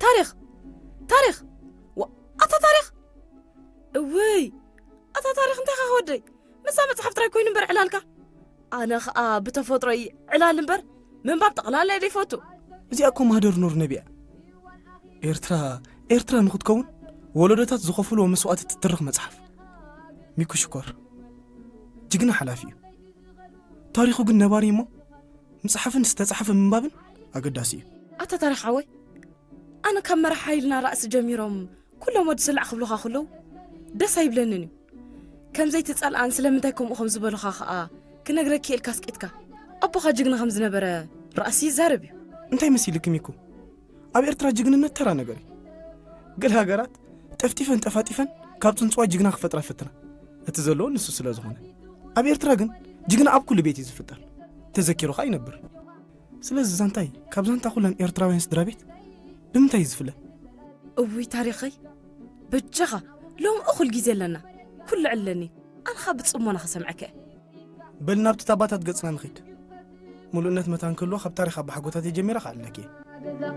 ታሪኽ፣ ታሪኽ፣ ዋ፣ ኣታ ታሪኽ፣ እውይ፣ ኣታ ታሪኽ፣ እንታይ ኻ ወደይ? ምሳ መጽሓፍ ጥራይ ኮይኑ እምበር ዕላልካ። ኣነ ኸኣ ብተፈጥሮይ ዕላል እምበር ምንባብ ጠቕላላ እየ ዘይፈቱ። እዚኣ እኮ ማህደር ኑር ነቢያ። ኤርትራ፣ ኤርትራ ንኽትከውን ወለዶታት ዝኸፍልዎ መስዋእቲ ትትርኽ መጽሓፍ። ሚኩ ሽኮር፣ ጅግና ሓላፊ እዩ። ታሪኹ ግን ነባሪ እሞ፣ ምጽሓፍን ዝተጻሕፈ ምንባብን ኣገዳሲ እዩ። ኣታ ታሪኽ ሓወይ፣ ኣነ ካብ መራሕ ሓይልና ራእሲ ጀሚሮም ኩሎም ወዲ ስላዕ ክብሉኻ ከለዉ ደስ ኣይብለንን እዩ። ከም ዘይትጸልኣን ስለምንታይ ከምኡ ከም ዝበሉኻ ኸኣ ክነግረኪ ኢልካ ኣስቂጥካ። ኣቦኻ ጅግና ከም ዝነበረ ራእሲ ይዛረብ እዩ። እንታይ መሲልኪ ሚኩ? ኣብ ኤርትራ ጅግንነት ተራ ነገር እዩ። ገለ ሃገራት ጠፍጢፈን ጠፋጢፈን ካብ ጽንጽዋይ ጅግና ክፈጥራ ይፍትና። እቲ ዘለዎ ንሱ ስለ ዝኾነ። ኣብ ኤርትራ ግን ጅግና ኣብ ኩሉ ቤት እዩ ዝፍጠር። ተዘኪሩ ኸኣ ይነብር። ስለዚ ዛንታይ ካብ ዛንታ ኩለን ኤርትራውያን ስድራ ቤት ብምንታይ እዩ ዝፍለ? እውይ ታሪኸይ፣ በጃኻ ሎም እኹል ግዜ ኣለና። ኩሉ ዕለኒ፣ ኣንኻ ብጽሞና ክሰምዐከ። በል ናብቲ ታባታት ገጽና ንኺድ። ምሉእነት መታን ክህልዎ ካብ ታሪኽ ኣባሓጎታት ጀሚረ ክኣልለኪ እየ።